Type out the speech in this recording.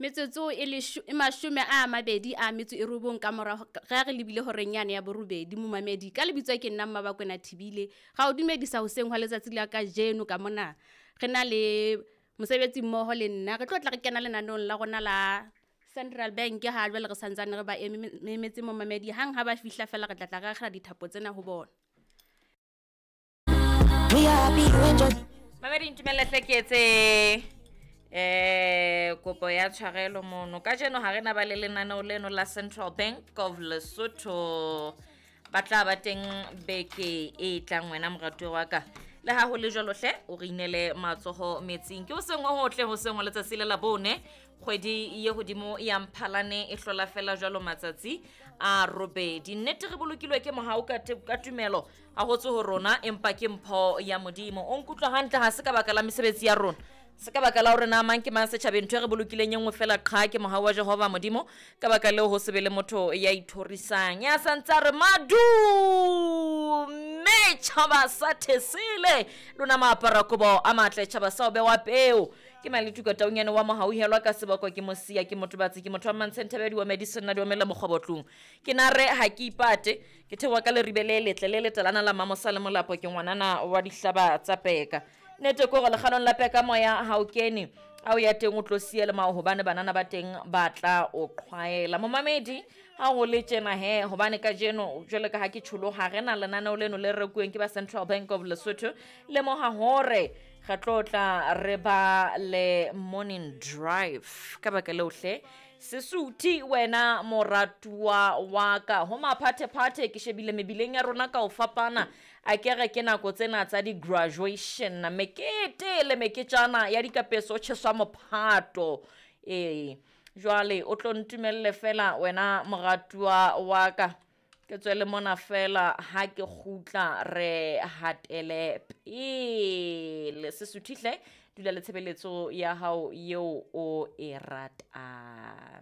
Metsotso e e 29 ka mora ge re lebile horeng yane ya borobedi. Momamedi, ka lebitso ke nna Mmabakwena Thibile, ga o dumedisa hoseng hwa letsatsi la kajeno. Ka mona re na le mosebetsi mmoho le nna, re tlo tla re kena lenaneong la rona la Central Bank. Ha jwale re santsane re ba emetse, momamedi, hang ha ba fihla fela re tla tla re akgela dithapo tsena ho bona. We are happy you enjoy. Mamedi, ntumelle hle ke etse kopo ya tshwarelo mono. Kajeno ha re na ba le lenaneo leno la Central Bank of Lesotho, ba tla ba teng beke e tlang. Wena moratuwa wa ka, le ha ho le jwalo hle o re inele matsoho metsing. Ke hoseng ho hotle, hoseng wa letsatsi le la bone, kgwedi ye hodimo ya Mphalane e hlola fela jwalo matsatsi a robedi. Nnete re bolokilwe ke mohau ka tumelo, ha ho tswe ho rona, empa ke mpho ya Modimo. O nkutlwa hantle, ha se ka baka la mesebetsi ya rona, se ka baka la hore na mang ke mang setjhabeng. Ntho e re bolokileng e nngwe fela qha ke mohau wa Jehova Modimo. Ka baka leo ho se be le motho ya ithorisang, ya santse a re madume tjhaba sa thesele lona maapara kobo a matle, tjhaba sa o bewa peo. Ke Maletuka Taunyane wa mohauhelwa ka seboko, ke mosia, ke motho batsi, ke motho wa mantshenthabedi wa medicine na di omella mokgwabotlong. Ke na re ha ke ipate, ke theoha ka leribe le letle le letalana la Mamosa le Molapo. Ke ngwanana wa dihlaba tsa peka. Nnete ke hore lekganong la peka moya ha o kene, a o ya teng o tlo siya le mao, hobane banana ba teng ba tla o qhwaela. Momamedi, ha ho le tjena he, hobane kajeno jwale ka ha ke tjholo, ha re na lenaneo leno le rekuweng ke ba Central Bank of Lesotho. Lemoha hore re tlo tla re ba le Morning Drive. Ka baka leo hle sesuthi wena moratuwa wa ka, ho maphathephathe ke shebile mebileng ya rona ka ho fapana. A ke re ke nako tsena tsa di-graduation, mekete le meketjana ya dikapeso, tjheswa mophato. Ee, jwale o tlo ntumelle fela wena moratuwa wa ka, ke tswele mona fela, ha ke kgutla re hatele pele. Sesuthihle, dula le tshebeletso ya hao eo o e ratang.